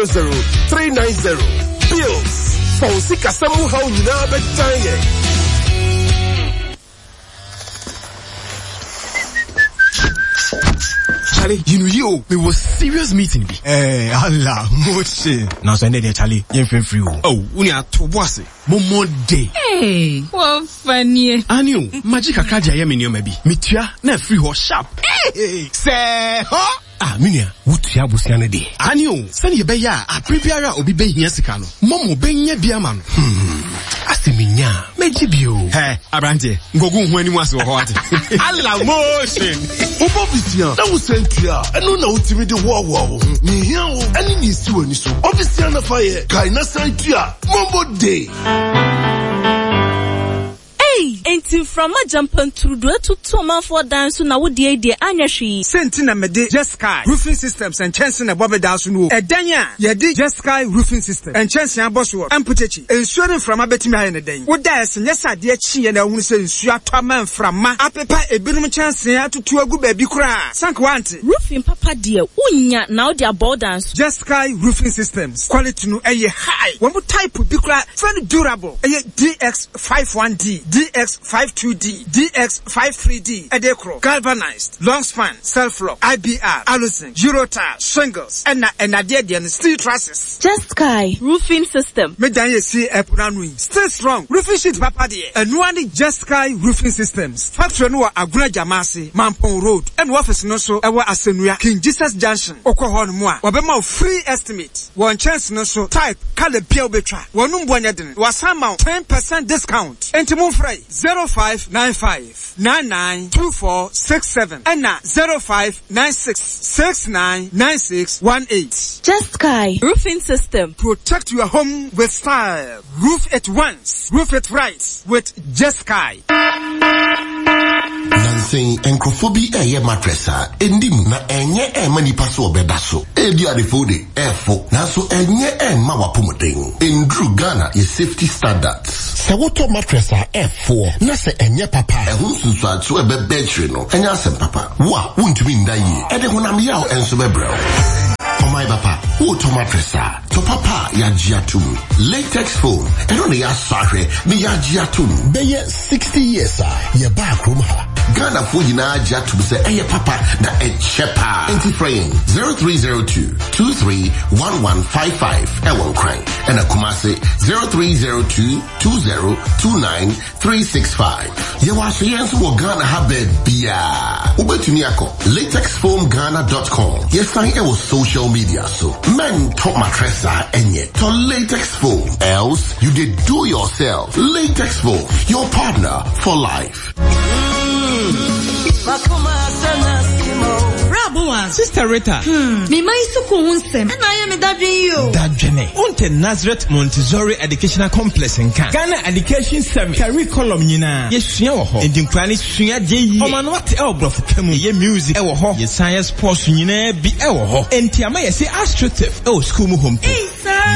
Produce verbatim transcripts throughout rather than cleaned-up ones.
zero zero three nine zero. Bills. Fa wo sikasɛm mu haw nyinaa bɛdan yɛn. Charlie, you know you, me was serious meeting bi. Eh, Allah, motion. Now so there Charlie, you free free. Oh, uni ato boase. Momo day. Hey, what funny. Ani magic akaja ye me nneɛma bi. Metua na free ho sharp. Hey, say ho. Ah, minia, wutua bosia ne de. Ani o, sɛ ye be ya a prebiara obi be hia sika no. Momo be nya bia ma no. Hmm. Aseminya, meji bio. Hey, abrante, ngogu hu ani ase wo ho ate. Allah motion. Obo bisia, na wo sentua, eno na wotimi de wo wo wo. Ni hia wo, ani ni si wani so. Obisia na fa ye, kai na sentua, Momo day. Hey, enti from Jampantrudu to man for dance na wo de de anya hwe. Senti na mede Jesky Roofing Systems and Chensin na bobe da so no. Edan a ye de Jesky Roofing System and Chensin aboso amputechi. Ensuo ne mframa betimi aye ne den. Wo da ese nyesa ade chi ye na ehunu se nsuo atɔ ma mframa. Apepa ebinom Chensin atutu agu ba bi kra. Sank wante. Roofing papa de unya na wo de abɔ dance. Jesky Roofing Systems quality no eye high. Wo type bi kra very durable. Eye D X five one D, D X five two D, D X five three D, Edecro, galvanized, long span, self-lock, I B R, aluzinc, Eurotile, shingles, and and steel trusses. Jesky Roofing System. Medan see Epranui. Stay strong. Roofing sheet papa dear. And one Jesky Roofing Systems. Factory no Aguna Jamasi, Mampong Road, and office no so ewa Asenua, King Jesus Junction, Okohon Moa, Wabema free estimate. One chance no so type Kale Betra. One umbuanyadin. Wasama ten percent discount. Entimun Frey zero five nine five nine nine two four six seven and zero five nine six six nine nine six one eight. Jesky Roofing System. Protect your home with style. Roof it once, roof it right with Jesky. Nansen encrophobia eye mattress a endim na enye e mani paso obeda so e di adefo de efo na so enye e ma wapomuden endru Ghana ye safety standards se woto mattress a F four na se enye papa ehun sunsu atso e be no enye asem papa wo a wontumi nda yi e de honam yaw enso bebrɛ. Oh my papa, woto mattress a to papa ya giatum latex foam eno ne ya sahwe ne ya giatum beye sixty years a ye ba krom ha Ghana fo nyina giatum se eye papa na echepa enti frame zero three zero two two three one one five five ewon kran ena Kumasi zero three zero two two zero two nine three six five. Ye wa so yenso wo Ghana ha ba bia obetumi akọ latex foam ghana dot com. Yes, sign e wo social media so men top mattress enye to latex foam, else you did do yourself. Latex foam, your partner for life. Sister Rita. Hmm. Me my suku unsem. And I am a daddy. Dadjene. Unte Nazareth Montessori Educational Complex in Ghana Education Service. Curriculum nyina. Ye sua wo ho. Ndi nkura ne sua de yi. Oma no ate e obrofo kamu. Ye music e wo ho. Ye science sports nyina bi e wo ho. Enti ama ye se astroturf e wo school mu hom.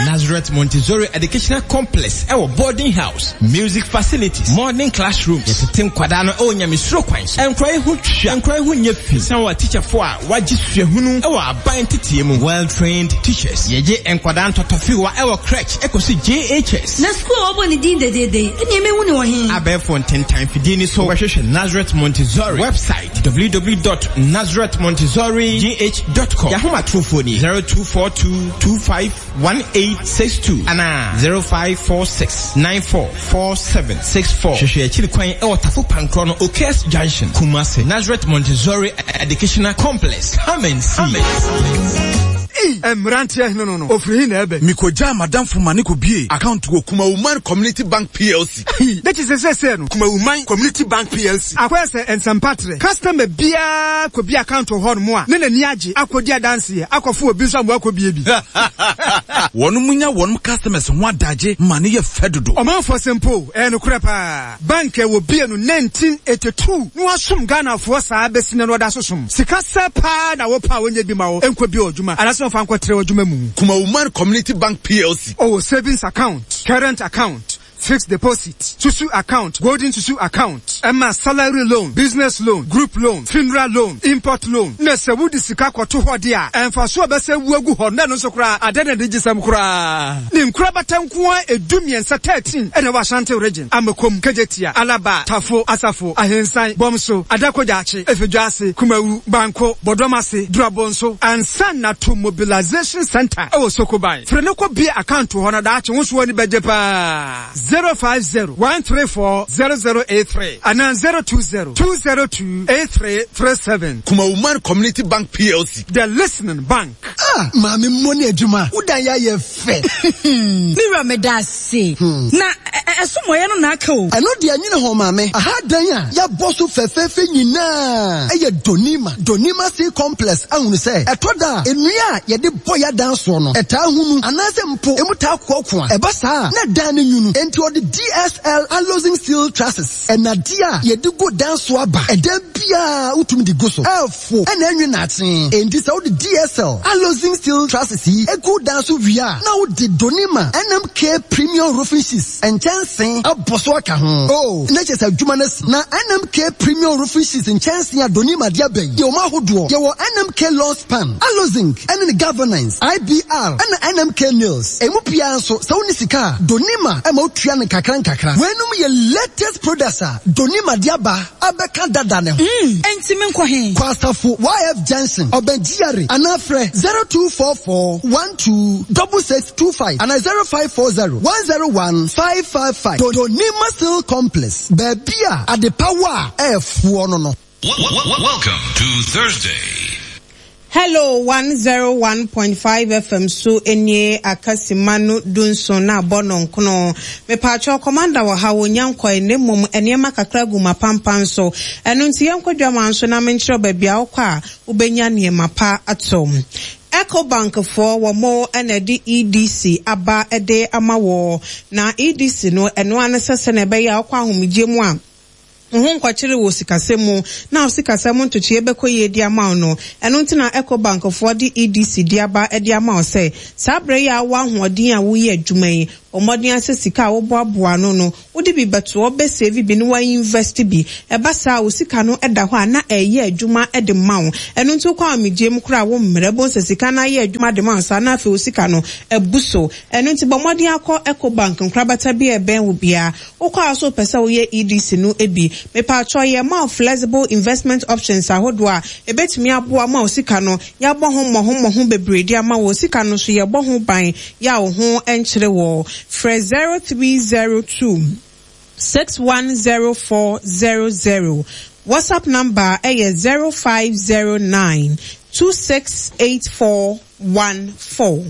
Nazareth Montessori Educational Complex e wo boarding house, music facilities, morning classrooms. Ye tete nkwada no e wo nyamesuro kwan so. Enkura hu twa, enkura hu nye fi. San wa teacher for a wajisue hunu e wa aban tetie mu. Well trained teachers. Ye enkwada ntotofiwa e wo crèche e kosi J H S. Na school obo ni din de de de. Eni me hu ni wo hin. Abefo ntentan fidie ni so wehwehwe Nazareth Montessori website w w w dot nazareth montessori g h dot com. Yahoma trofo ni zero two four two two five one eight six two ana zero five four six nine four four seven six four. Hwehwe achiri kwan e wo Tafo Pankro no Okes Junction, Kumasi. Nazareth Montessori Educational Complex. Come and see. Emrantia no no no. Ofri na ebe. Mikoja madam Fumani ko bie account wo Kumawuman Community Bank P L C. That is se no. Kumawuman Community Bank P L C. Akwese ensampatre. Customer bia ko bia account ho no mo a. Ne nani age akodi adanse ye. Akofo obi nso am akobie bi. Wonu munya wonu customers ho adaje mane ye fedodo. Omanfo sempo e no kura pa. Bank e wo bie no nineteen eighty-two. No asum Ghana fo saa besine no da sosom. Sika se pa na wo pa wonye bi ma wo enko bi odwuma. Anaso fa nkotre odwuma mu. Kumawuman Community Bank P L C. Oh, savings account, current account, Fixed deposit, Susu account, Golden Susu account, ɛma salary loan, business loan, group loan, funeral loan, import loan. Na sɛ wode sika kɔto hɔ de a, ɛmfa so a bɛsɛ wu agu hɔ na ɛno nso koraa ade na de gye sɛm koraa. Ne nkorabata nko a edu mmiɛnsa thirteen ɛna ɛwɔ Ashanti Region, Amakom, Kejetia, Alaba, Tafo, Asafo, Ahensan, Bɔmso, Adakogyaakye, Efidwase, Kumawu, Banko, Bɔdɔmase, Durabonso, ansa na to mobilization center ɛwɔ Sokoban. Firi ne kɔ bie account hɔ na daakye wo so ani bɛgye paa. zero five zero one three four zero zero eight three and zero two zero two zero two eight three three seven. Kumawuman Community Bank P L C. The Listening Bank. Ah, maame mmɔ ne adwuma. Wodan yɛ ayɛ fɛ. Me wura, meda ase. Na ɛsomɔyɛ no na aka o. Ɛno deɛ nyine ho, maame. Aha dan a yɛabɔ so fɛfɛɛfɛ nyinaa ɛyɛ Donima. Donima Steel Complex ahunu sɛ ɛtɔ da a nnua a yɛde bɔ yɛadan soɔ no ɛtaa hunu anaasɛ mpo emu taa koakoa. Ɛba saa a na dan no nwunu. Enti ɔde D S L Alozing Steel Trusses ɛnadeɛ a yɛde gu dan so aba. Ɛdan biara wotumi de gu so. Ɛɛfo ɛna ɛnwe naakye. Enti sɛ wode D S L Alozing Steel Trusses yi egu dan so wie a, na wode Donima N M K Premium Roofing Sheets nkyɛnsee abɔ so aka ho. Oh, na kyerɛ sɛ adwuma no asi. Na N M K Premium Roofing Sheets nkyɛnsee a Donima de aba yi, yɛwɔ mu ahodoɔ. Yɛwɔ N M K Long Span, Alozing, ɛne ne Galvanized, I B R, ɛna N M K Nails. Emu biara nso, sɛ wonni sika a, Donima ɛma wotua no nkakra nkakra. Weinom yɛ latest products a Donima de aba abɛka dada ne ho. Enti menkɔ he? Kɔ Asafo Y F Junction, ɔbɛn G R A, anaa frɛ zero two four four one two six six two five anaa zero five four zero one zero one five five five. Donima Steel Complex, baabi a adepawa a ɛɛfoɔ no no. Welcome to Thursday. Hello one zero one point five F M so nie, akasima no dunson na abɔ no nkono. Mepatwɛ, commander wɔ ha, wonya nkɔe, na mmom nneɛma kakra gu ma pampan so. Ɛno nti yɛnkɔ dwama nso na menkyerɛ baabi a wokɔ a wobɛnya nneɛma pa ato. Ecobank foɔ wɔ mo ɛna ɛde E D C aba ɛde ama wɔ, na E D C no ɛno ano sɛ sɛ na ɛbɛyɛ a wokɔ ahomegye mu a ho nkɔkyere wɔ sikasɛm mu na wo sikasɛm ntotoeɛ bɛkɔ yie di ama wo no. Ɛno nti na Ecobank foɔ de E D C de aba de ama wo sɛ saa berɛ yi a wowɔ ahoɔden a woyɛ adwuma yi, ɔmmɔden asɛ sika a woboaboa no no wode bi bɛto ɔbɛsave bi na wainvest bi. Ɛba saa, wo sika no da hɔ a na ɛyɛ adwuma de ma wo. Ɛno nti wokɔ ahomegye mu koraa, wo mmerɛ bo sɛ sika no ayɛ adwuma de ma wo saa, na afei wo sika no abu so. Ɛno nti bɔ mmɔden akɔ Ecobank nkorabata bi a ɛbɛn wo biara. Wokɔ a so wopɛ sɛ woyɛ E D C no bi, mepatwɔ, yɛ ma wo flexible investment options ahodoɔ a ɛbɛtumi aboa ma wo sika no yɛabɔ ho mmɔho mmɔho bebree de ama wo. Sika no so yɛbɔ ho ban yɛ a wo ho nkyerɛ wɔ. Frɛ zero three zero two six one zero four zero zero. WhatsApp number ɛyɛ zero five zero nine two six eight four one four.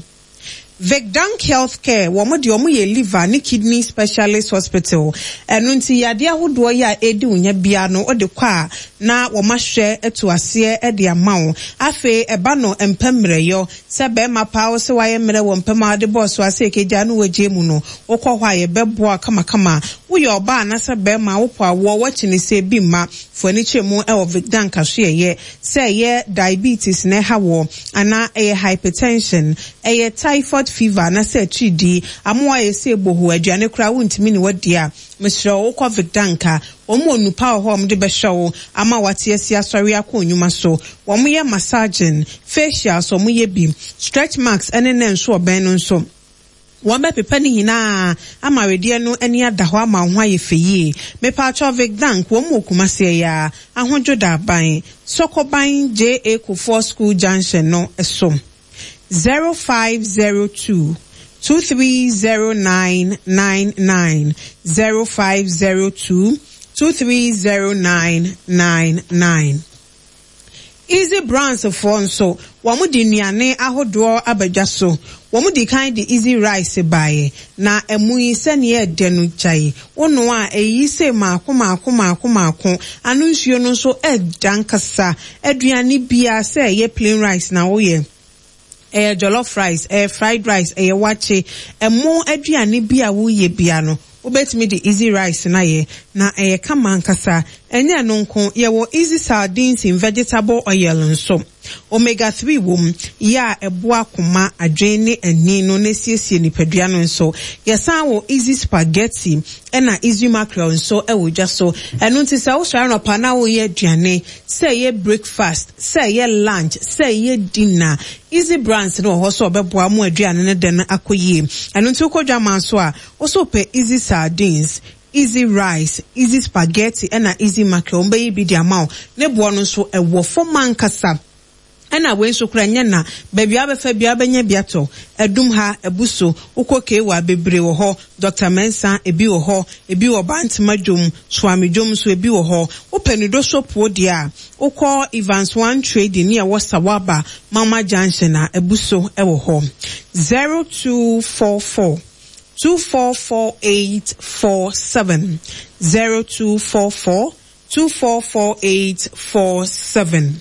Vicdank Healthcare, wɔn deɛ wɔn yɛ liver ne kidney specialist hospital. Ɛno nti yadeɛ ahodoɔ yi a edi wo nya bia no, wɔde kɔ a na wɔn ahwɛ ato aseɛ de ama wo. Afei ɛba no mpɛ mmerɛyɔ sɛ bɛrima paa wo sɛ wayɛ mmerɛ wɔ mpɛm a wɔde bɔɔ so ase ekegya no wɔgye mu no, wokɔ hɔ a yɛbɛboa kamakama. Woyɛ ɔbaa anasɛ bɛrima wopɔ awoɔ, wɔakyi ne sɛ ebi mma fo ani kyerɛ mu ɛwɔ Vicdank aso. Yɛyɛ sɛ ɛyɛ diabetes na ɛha wɔ, anaa ɛyɛ hypertension, ɛyɛ typhoid fever, anasɛ atiridii amoa yɛ sɛ ebohu aduane koraa wontumi ne wadi a, mesrɛ wo, wokɔ Vicdank a wɔn wɔ nupa wɔ hɔ a wɔde bɛhwɛ wo ama wate asi asɔre akɔ onyuma so. Wɔn yɛ massaging, facials, wɔn yɛ bi stretch marks ɛne ne nso ɔbɛn no nso wɔn bɛpepa ne nyinaa ama awedeɛ no ani ada hɔ ama wo ho ayɛ fɛ yie. Mepatwɔ, Vicdank wɔn wɔ Kumaseɛ ya Ahodwo Daaban, Sɔkɔban, J A Kufuor School junction no so. zero five zero two two three zero nine nine nine, zero five zero two two three zero nine nine nine. Easy Brands foɔ nso wɔn de nnuane ahodoɔ abadwa so. Wɔn di kan de Easy Rice baeɛ, na ɛmu yi sɛnea ɛdɛ no gyae wono a ɛyi sɛ maako maako maako maako ano. Nsuo no nso ɛda nkasa. Aduane biara, sɛ ɛyɛ plain rice na woyɛ, ɛyɛ jollof rice, ɛyɛ fried rice, ɛyɛ wakye, ɛmo aduane bi a woyɛ bia no, wobɛtumi de Easy Rice na yɛ na ɛyɛ kama ankasa. Ɛnyɛ no nko, yɛwɔ Easy Sardines in vegetable oil nso. Omega three wom, yɛ a ɛboa akoma, adwene ne ani no na esiesie nipadua no nso. Yɛsan wɔ Easy Spaghetti ɛna Easy Mackerel nso ɛwɔ dwa so. Ɛno nti sɛ wosɔre anɔpa na woyɛ aduane, sɛ ɛyɛ breakfast, sɛ ɛyɛ lunch, sɛ ɛyɛ dinner, Easy Brands no wɔ hɔ sɛ ɔbɛboa mo aduane no dɛ no akɔ yie. Ɛno nti wokɔ dwaman so a, wo pɛ Easy Sardines, Easy Rice, Easy Spaghetti ɛna Easy Mackerel, wɔbɛyi bi de ama wo. Ne boɔ no nso ɛwɔ fam ankasa. Ɛna wei nso kora nyɛ na baabi a wobɛfa biara wobɛnya bi atɔ. Adum ha, Ebuso, wokɔ Kewa bebree wɔ hɔ. Doctor Mensah ebi wɔ hɔ, ebi wɔ Bantama dwom, Suame dwom nso ebi wɔ hɔ. Wopɛ ne do soap deɛ a, wokɔ Evans One Trading ne ɛwɔ Sawaba Mama Junction a Ebuso ɛwɔ hɔ. zero two four four two four four eight four seven zero two four four two four four eight four seven.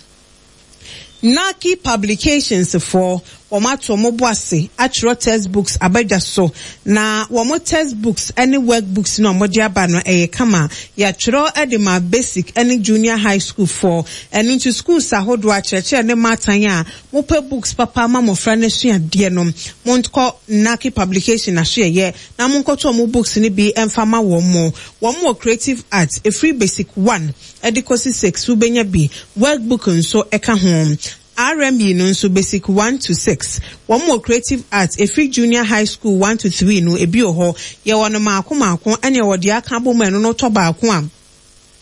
Naki Publications foɔ wɔn ato wɔn bo ase atwerɛ textbooks abadwa so na wɔn textbooks ne workbooks na wɔde aba no ɛyɛ kama. Yɛatwerɛ de ma basic ne junior high school foɔ. Ɛno nti schools ahodoɔ akyerɛkyerɛ ne mmaatan a mopɛ books papa ama mmɔfra no asuadeɛ no, monkɔ Naki Publication ahyeɛyɛ na monkɔtɔ wɔn books no bi mfa ma wɔn mo. Wɔn wɔ creative arts efiri basic one ɛde kɔsi six wobɛnya bi. Workbook nso ɛka ho. R M E no nso basic one to six. Wɔn wɔ creative arts efiri junior high school one to three no ebi wɔ hɔ. Yɛwɔ no maako maako ɛne ɛwɔ deɛ aka abɔ mu ɛno no tɔ baako a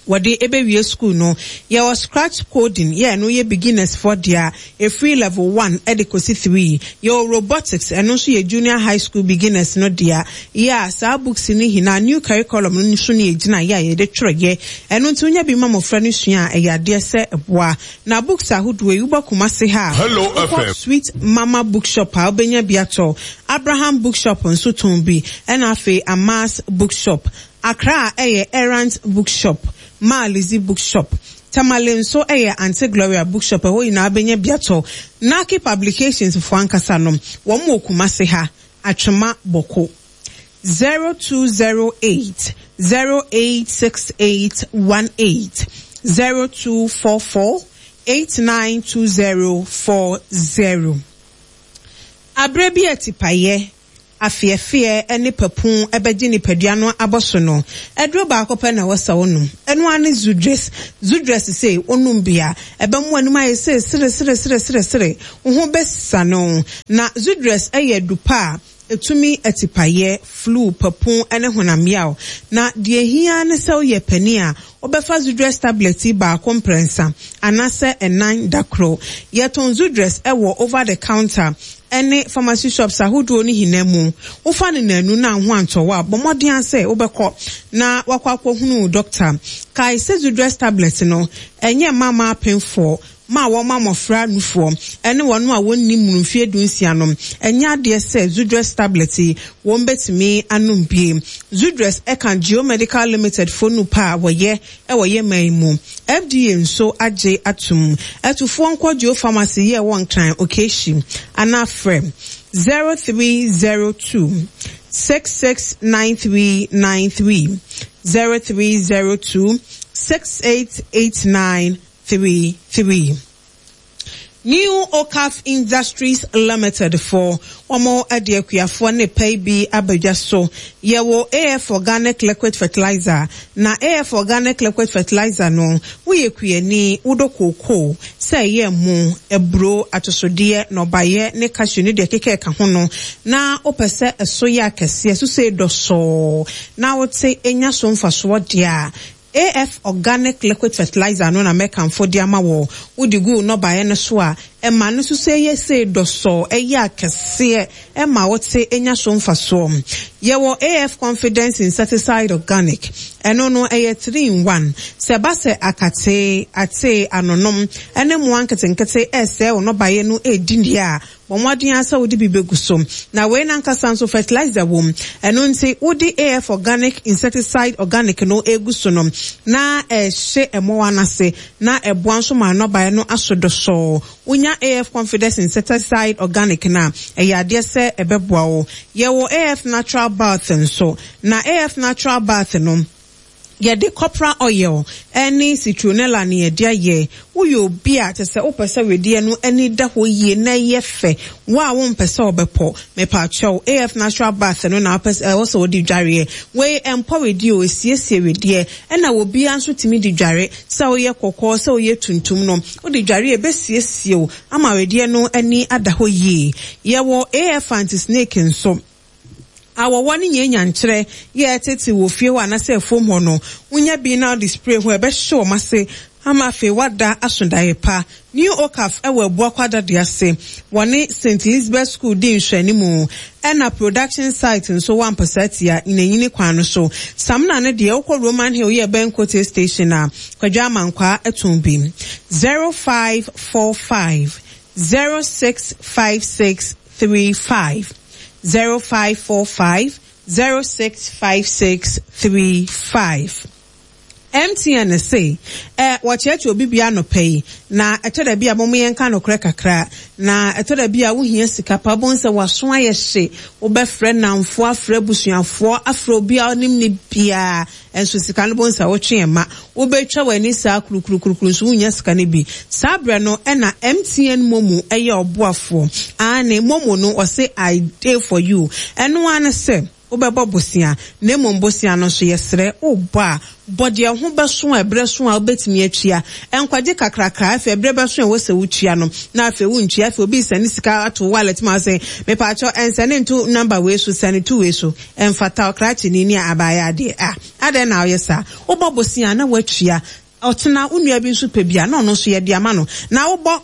wɔde ɛbɛwie school no. Yɛwɔ scratch coding yɛ ɛno yɛ beginners for deɛ efiri level one ɛde kɔsi three. Yɛwɔ robotics ɛno nso yɛ junior high school beginners no deɛ. Yɛ a saa books no nyinaa new curriculum no nso ne yɛgyina yɛ a yɛde twerɛ yɛ. Ɛno nti wonya bi ma mmɔfra no sua a ɛyɛ adeɛ sɛ ɛboa. Na books ahodoɔ yi wobɔ Kumasi ha. Hello Wokɔ F M. Sweet Mama Bookshop a wobɛnya bi atɔ. Abraham Bookshop nso tɔn bi. Ɛna afei Amas Bookshop. Accra ɛyɛ Errant Bookshop, Malizi Bookshop. Tamale nso ɛyɛ Auntie Gloria Bookshop ɛhɔ nyinaa bɛnya bi atɔ. Naki Publications foɔ ankasa no, wɔn wɔ Kumasi ha, Atwema Bɔko. zero two zero eight zero eight six eight one eight zero two four four eight nine two zero four zero. Abrɛ bi atipayɛ afiefie ne papun ɛbɛgye nipadua no abɔso no. Ɛduro baako pɛ na wɔsa wɔnom. Ɛno ara ne Zudres. Zudres sei wɔnom bia ɛbɛmo anim ayɛ sɛ sere sere sere sere sere. Wo ho bɛsa no. Na Zudres ɛyɛ dupa a etumi atipayɛ, flu, papun ne honam yaw. Na deɛ hia ne sɛ woyɛ panin a wobɛfa Zudres tablet yi baako mprɛnsa anaasɛ ɛnan da koro. Yɛtɔn Zudres ɛwɔ over the counter ɛne pharmacy shops ahodoɔ no nyinaa mu. Wofa no nanu na ho antɔ wo a, bɔ mmɔden sɛ wobɛkɔ na wakɔ akɔhunu doctor. Kae sɛ Zudres tablet no ɛnyɛ mama apemfoɔ ma wɔn ma mmɔfra nufoɔ ɛne wɔn a wɔnni mu mfeɛ du nsia no. Ɛnyɛ adeɛ sɛ Zudres tablet yi wɔn bɛtumi anom bie. Zudres ɛka Geomedical Limited fo nu pa a wɔyɛ ɛwɔ yɛ man mu. F D A nso agye atum. Ɛtufoɔ nkɔ Geo Pharmacy yɛ wɔ Nkran Okeshi anaa frɛ zero three zero two six six nine three nine three zero three zero two six eight eight nine three three. New Okaf Industries Limited for wɔn ade akuafoɔ ne pɛ bi abadwa so. Yɛwɔ A F Organic Liquid Fertilizer. Na A F Organic Liquid Fertilizer no, woyɛ kuani, wodɔ kookoo, sɛ ɛyɛ mo, aburo, atosodeɛ, nnɔbaeɛ ne cashew ne deɛ keka ɛka ho no, na wopɛ sɛ ɛso yɛ akɛseɛ, so sɛ ɛdɔsɔɔ, na wote enya so mfasoɔ deɛ a, A F Organic Liquid Fertilizer no na mɛkamfo de ama wo. Wode gu nnɔbaeɛ no so a, ɛma no so sɛ ɛyɛ sɛ dɔsɔɔ, ɛyɛ akɛseɛ, ɛma wote enya so mfasoɔ. Yɛwɔ A F Confidence Insecticide Organic. Ɛno no ɛyɛ three in one. Sɛ ba sɛ akate, ate, anonom, ɛne mmoa nketenkete ɛsɛ wo nnɔbaeɛ no ɛdi deɛ a, bɔ mmɔden ara sɛ wode bi bɛgu so. Na wei nankasa nso fertilizer wom. Ɛno nti wode A F Organic Insecticide Organic no egu so no, na ɛhyɛ mmoa no ase, na ɛboa nso ma nnɔbaeɛ no aso dɔsɔɔ. Wonya A F Confidence Insecticide Organic na ɛyɛ adeɛ sɛ ɛbɛboa wo. Yɛwɔ A F Natural Bath nso. Na A F Natural Bath no, Yɛde copra oil ne citronella na yɛde ayɛ. Woyɛ obi a kyerɛ sɛ wopɛ sɛ wedeɛ no ani da hɔ yie na ɛyɛ fɛ, wo a wompɛ sɛ wobɛpɔ, mepaakyɛw, A F Natural Bath no na wopɛ sɛ ɛwɔ sɛ wode dwareɛ. Wei ɛmpɔ wedeɛ o, ɛsiesie wedeɛ. Ɛna obiara nso tumi de dware, sɛ woyɛ kɔkɔɔ, sɛ woyɛ tuntum no, wode dware a ɛbɛsiesie wo ama wedeɛ no ani ada hɔ yie. Yɛwɔ A F Anti-Snake nso. Awɔwɔ ne nyɛ nyankyerɛ yɛ ɛtete wɔ fie hɔ anaasɛ afuom hɔ no, wonya bi na wode spray ho, ɛbɛhye wɔn ase ama afei wada asodaeɛ pa. New Okaf ɛwɔ Abuakwa Dade ase, wɔne Saint Elizabeth School di nhwɛnimu, ɛna production site nso wɔ Ampasatia nyinanyini kwan no so. Samina no deɛ, wokɔ Roman Hill yɛ bɛn Kote Station a, Kwadwo Amankwaa ɛtɔn bi. zero five four five zero six five six three five, zero five four five zero six five six three five. M T N se ɛ wɔkyerɛkyerɛ obi bia anɔpɛ yi, na ɛtɔ da bi a mɔmo yɛnka nokorɛ kakra, na ɛtɔ da bi a wohia sika pa, wobɛhu sɛ waso ayɛ hye, wobɛfrɛ namfoɔ, afrɛ abusuafoɔ, afrɛ obi a ɔnim ne biara, ɛnso sika no bɛhu sɛ wotwe ɛma wobɛtwa w'ani saa kurukurukurukuru nso wonya sika no bi. Saa berɛ no ɛna M T N MoMo ɛyɛ ɔboafoɔ ane. MoMo no, ɔse "I dey for you". Ɛno ara ne sɛ wobɛbɔ bosea, na mmom bosea no nso yɛsrɛ, wobɔ a, bɔ deɛ ho bɛso a ɛberɛ so a wobɛtumi atua. Nkwagye kakrakra, afei ɛberɛ bɛso a ɛwɔ sɛ wotua no na afei wontua. Afei obi sɛne sika ato wallet ma sɛ mepaakyɛw, ɛnsɛne nto number wei so, sɛne to wei so. Ɛmfata ɔkrakye ni ne abaayɛ adeɛ a adɛn na woyɛ saa? Wobɔ bosea na woatua, ɔtena wo nua bi nso pɛ bi a, na ɔno nso yɛde ama no. Na wobɔ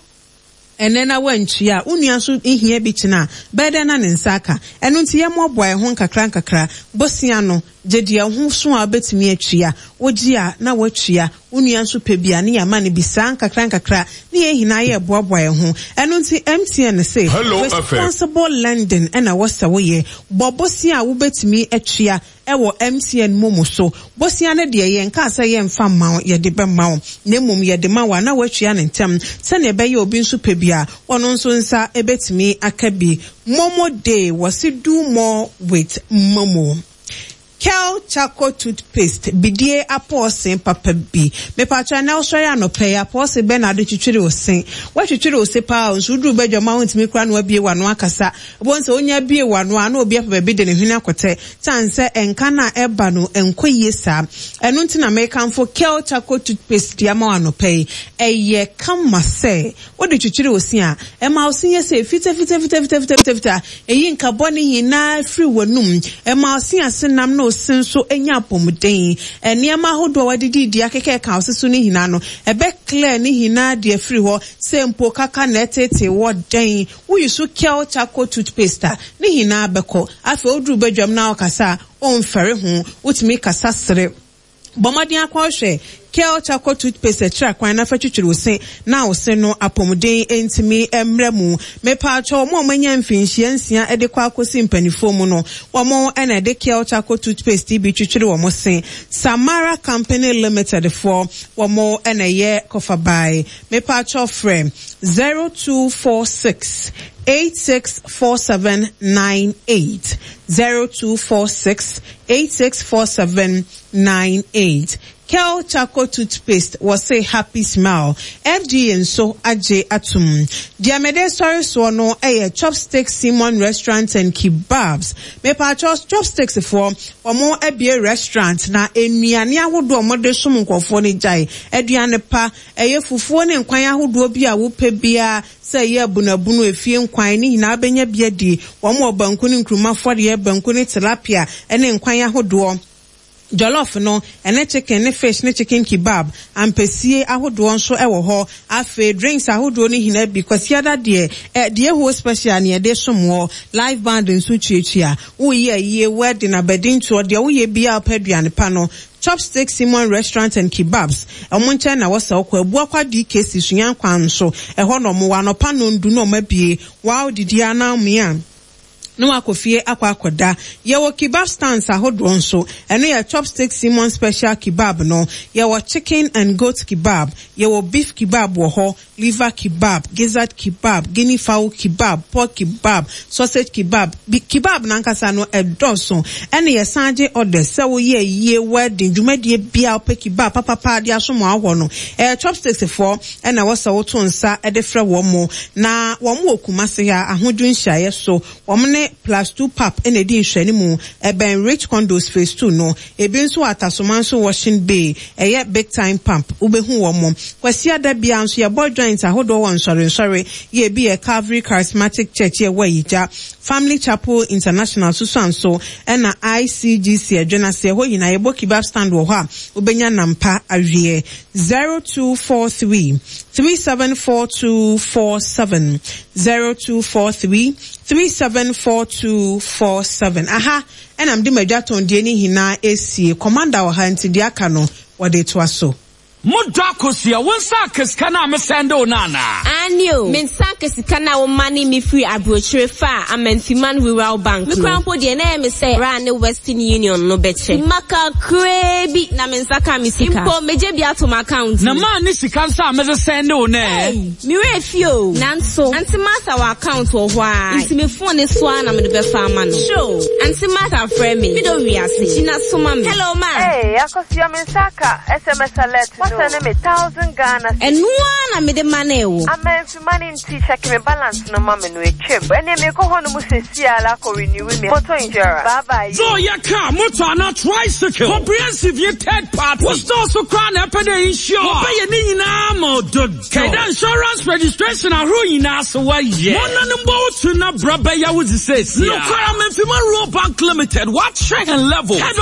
ɛnɛ na wantua a, wo nua nso hia bi kyena a, bɛyɛ dɛn na ne nsa aka? Ɛno nti yɛmmoaboa yɛn ho nkakra nkakra. Bosea no, gye deɛ ho so a wobɛtumi atua. Wogye a na woatua, wo nua nso pɛ bi a, ne yɛama no bi saa nkakra nkakra, ne yɛn nyinaa yɛ boaboa yɛn ho. Ɛno nti M T N se Hello, F M. responsible lending ɛna wɔsɛ woyɛ. Bɔ bosea a wobɛtumi atua ɛwɔ M T N MoMo so. Bosea no deɛ, yɛn kaa sɛ yɛmfa mma wo, yɛde bɛma wo, na mmom yɛde ma wo a na woatua ne ntɛm sɛnea ɛbɛyɛ obi nso pɛ bi a, ɔno nso nsa ɛbɛtumi aka bi. MoMo Day, wɔsi do more with MoMo. Kel Charcoal Toothpaste, bidie apɔɔse papa bi. Mepatwa na wosɔre anɔpɛ yi, apɔɔse bɛn na ade twitwiri wo se? Woatwitwiri wo se paa o, nso woduru badwam a, wontumi kora na wabie w'ano akasa. Wobɛhu sɛ wonya bie w'ano a, na obi apɛ baabi de ne hwene akɔtɛ kyane sɛ ɛnka no a ɛba no ɛnkɔ yie saa. Ɛno nti na mekamfo Kel Charcoal Toothpaste de ama wo anɔpɛ yi. Ɛyɛ kama sɛ wode twitwiri wo se a, ɛma wo se yɛ sɛ fita fita fita fita fita fita fita. Ɛyi nkabɔ ne nyinaa firi w'anum, ɛma wo se ase nam na wo se nso anya apɔmuden. Nneɛma ahodoɔ a wɔde didi akeka ɛka wo se so ne nyinaa no, ɛbɛ clear ne nyinaa deɛ firi hɔ. Sɛ mpo kaka na ɛtete wɔ dɛn, woyi so Kel Charcoal Toothpaste a, ne nyinaa bɛkɔ. Afei woduru badwam na wɔkasa a, ɔmfɛre ho, wotumi kasa sere. Bɔ mmɔden akɔhwɛ Kel Charcoal Toothpaste akyerɛ kwan na fa twitwiri wo se na wo se no apɔmuden ntumi mmerɛ mu. Mepaakyɛw, wɔn a wɔanya mfinhyia nsia de kɔ akɔsi mpanimfoɔ mu no, wɔn ɛna ɛde Kel Charcoal Toothpaste bi twitwiri wɔn se. Samara Company Limited foɔ, wɔn ɛna ɛyɛ kɔfabae. Mepaakyɛw, frɛ zero two four six eight six four seven nine eight, zero two four six eight six four seven nine eight. Kel Charcoal Toothpaste, wɔse happy smile. F D A nso agye atum. Deɛ mede sɔre soɔ no ɛyɛ Chopstick Simon Restaurant and Kebabs. Mepatwɔ, Chopsticks foɔ, wɔn abie restaurant na nnuane ahodoɔ a wɔde som nkurɔfoɔ no gyae. Aduane pa, ɛyɛ fufuo ne nkwan ahodoɔ bi a wopɛ biara, sɛ ɛyɛ abunabunu, efie nkwan ne nyinaa bɛnya bi adi. Wɔn wɔ banku ne nkuruma fɔdeɛ, banku ne tilapia ɛne nkwan ahodoɔ, jollof no ɛne chicken ne fish ne chicken kebab, ampesie ahodoɔ nso ɛwɔ hɔ. Afei drinks ahodoɔ no nyinaa bi. Kwasiada deɛ, ɛ deɛ ɛho special ne yɛde som wɔ. Live band nso tuatua. Woyɛ ayie, wedding, abadintoɔ deɛ, woyɛ biara pɛ aduane pa no, Chopstick Simon Restaurant and Kebabs, ɔmo nkyɛn na wɔsɛ ɔkɔ Abuakwa D K C Sunya kwan so. Ɛhɔ na ɔmo wɔ. Anɔpa nondu na ɔmo abie wow didi anamia Na wakɔ fie akɔ akɔda. Yɛwɔ kebab stands ahodoɔ nso. Ɛno yɛ Chopstick Simon Special Kebab no. Yɛwɔ chicken and goat kebab. Yɛwɔ beef kebab wɔ hɔ, liver kebab, gizzard kebab, guinea fowl kebab, pork kebab, sausage kebab. Bi kebab nankasa no ɛdɔɔso. Ɛna yɛsan gye orders sɛ woyɛ yie, wedding, dwumadie bia wopɛ kebab papapa de asom wɔ no. Ɛyɛ Chopsticks foɔ ɛna wɔsɛ woto nsa ɛde frɛ wɔn mo. Na wɔn wɔ Kumasi ha, Ahodwo nhyiaeɛ so. Wɔn ne Plus Two Pap ɛna edi nhwɛne mu. Ɛbɛn Rich Condos Phase Two no. Ebi nso wɔ Atasoma nso Washing Bay. Ɛyɛ Big Time Pump. Wobɛhu wɔn mo. Kwasi ada bia nso yɛbɔ joint ahodoɔ wɔ nsɔre nsɔre. Yɛ ebi yɛ Calvary Charismatic Church yɛ wɔ Ayigya. Family Chapel International soso nso ɛna I C G C Adwenase ɛhɔ nyinaa yɛbɔ kebab stand wɔ hɔ a wobɛnya nampa awie. zero two four three three seven four two four seven, zero two four three three seven four two four seven. Aha ɛna mede madwa tɔndie ne nyinaa esie. Commander wɔ ha, nti deɛ aka no wɔde toa so. Modɔ Akosua, wo nsa aka sika no a mesɛnde wo no anaa? Aane o, me nsa aka sika no a woma ne me firi aburokyire fa a Amanfiman Rural Bank no. Mekora mpo deɛ, na ɛyɛ me sɛ ra ne Western Union no bɛkyɛ mma kakraa bi na me nsa ka me sika. Mpo megye bi ato m'account. Na maa ne sika nso a mede sɛnde wo no ɛ? Hey, me fi o. Nanso Auntie Martha wɔ account wɔ hɔ a, nti me phone ne so a na mede bɛfa ama no. Sure, Auntie Martha frɛ me. Me dɔ wiase. Gyina soma me. Hello, ma. Hey, Akosua, me nsa aka S M S alert no. Wasɛne me thousand Ghana. Ɛno ara na mede ma no wo. Amanfima ne nti check me balance no ma me no etwam. Ɛne mekɔ hɔ no mu sɛsi ala akɔ renew me motor insurance. Bye bye. So yɛ car, motor anaa tricycle, comprehensive yɛ third party. Wo store so koraa na ɛpɛ dɛ insure. Wɔbɛyɛ ne nyinaa ma ɔdodo. Kɛdɛ insurance registration ahorow nyinaa so wɔyɛ. Wɔn nanom bɔ wo tu na bra bɛyɛ wo dze sɛsi. Nokwara Amanfima Rural Bank Limited, wɔakyerɛ hɛn level. Head